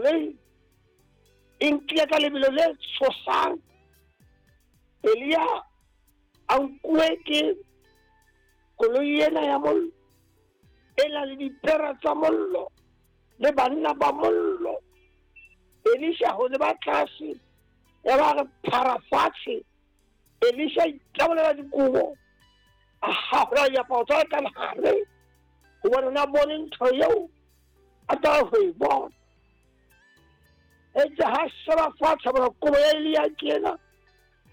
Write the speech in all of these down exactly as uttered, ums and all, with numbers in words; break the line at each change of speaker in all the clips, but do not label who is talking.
Koloi e nkile ka lebelo le tshosang. Elia a nkuwe ke koloi ena ya mollo, e na le dipere tsa mollo le banna ba mollo. Elisha ho leba tlase, ya ba re phara fatshe. Elisha itabolela dikobo, a hahola diaparo tsa ka lehare, hobane o ne a bone ntho eo a tla ho e bona. Eitse ha sheba fatshe, a bona kobo ya Elia ke ena.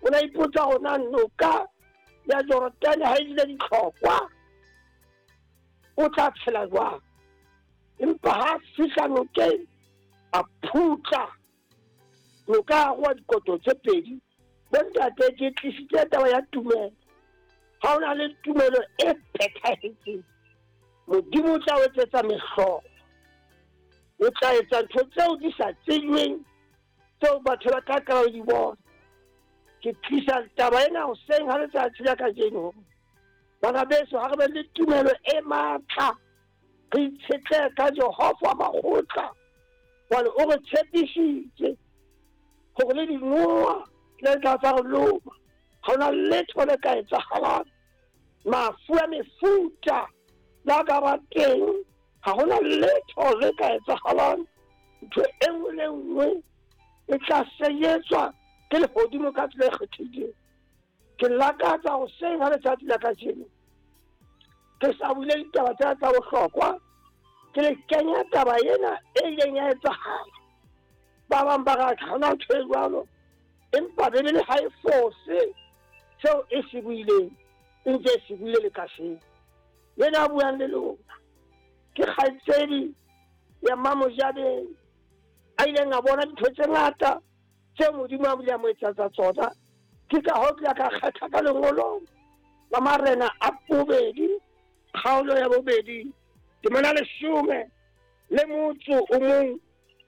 O ne a ipotsa hore na noka ya Jorodane ha e ile ditlhokwa, o tla tshela jwang. Empa ha fihla nokeng, a phutla noka ya roa dikoto tse pedi. Bontate, ke tlisitse taba ya tumelo. Ha o na le tumelo e phethahetseng, Modimo o tla o etsetsa mehlolo. O tla etsa ntho tseo di sa tsejweng, tseo batho ba tla qala ho di bona. Ke tlisa taba ena hoseng ha letsatsi la kajeno. Bana beso, ha re be le tumelo e matla, re itshetlehe ka Jehova makgotla, hobane o re tshepisitse hore le dinoha le tla tsa re loma, ha hona letho le ka etsahalang. Mafu a mefuta la ka ba teng, ha hona letho le ka etsahalang. Ntho e nngwe le nngwe e tla senyetswa ke lehodimo ka tsela e kgethehileng. Ke lakatsa hoseng ha letsatsi la kajeno ke sa bule ditaba tsena tsa bohlokwa, ke le kenya taba ena e ileng ya etsahala. Ba bang ba re ha hona ntho e jwalo, empa Bibele ha e fose seo e se buileng, e ntse e se buile le kasheno. Yena a buang le lona ke kgaitsedi ya Mamojabeng, a ileng a bona dintho tse ngata tseo Modimo a bile a mo etsetsa tsona. Ke ka hoo ke ka kgetha ka lengolong la Marena a bobedi, kgaolo ya bobedi, temana leshome le motso o mong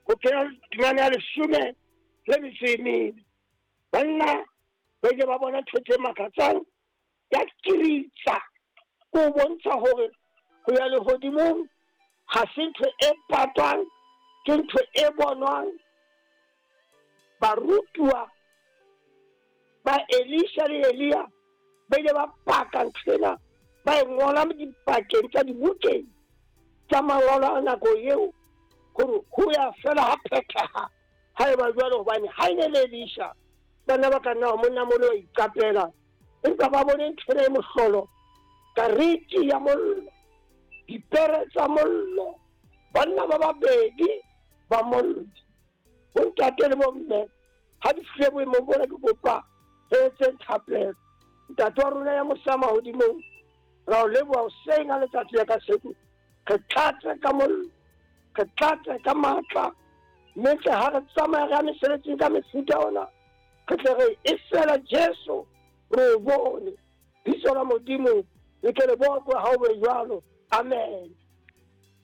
ho kena temana ya leshome le metso e mene. Banna ba ile ba bona ntho tse makatsang, ya kiritsa ko bontsha hore ho ya lehodimong ha se ntho e patwang, ke ntho e bonwang. Barutuwa ba Elisha le Elia ba ile ba paka ntho ena, ba e ngola dipakeng tsa dibukeng tsa mangolo a nako eo, hore ho ya fela ha phethaha ha eba jwalo. Hobane ha e ne le Elisha, bana ba ka nna monna molo wa iqapela, empa ba bone ntho ena e mohlolo, kariki ya mollo, dipere tsa mollo, banna ba babedi ba mollo. Bontate le bomme, ha di fihle boemong bona, ke kopa re etse thapelo. Ntate wa rona ya mosa mahodimong, ra o leboha hoseng ha letsatsi la kasheko. Re tlatse ka mollo, re tlatse ka matla, mme tle ha re tsamaya re ya mesebetsing ka mefuta ona, re tle re e fela Jesu re o bone. Bitso la Modimo le ke le bokwe ha o be jwalo. Amen.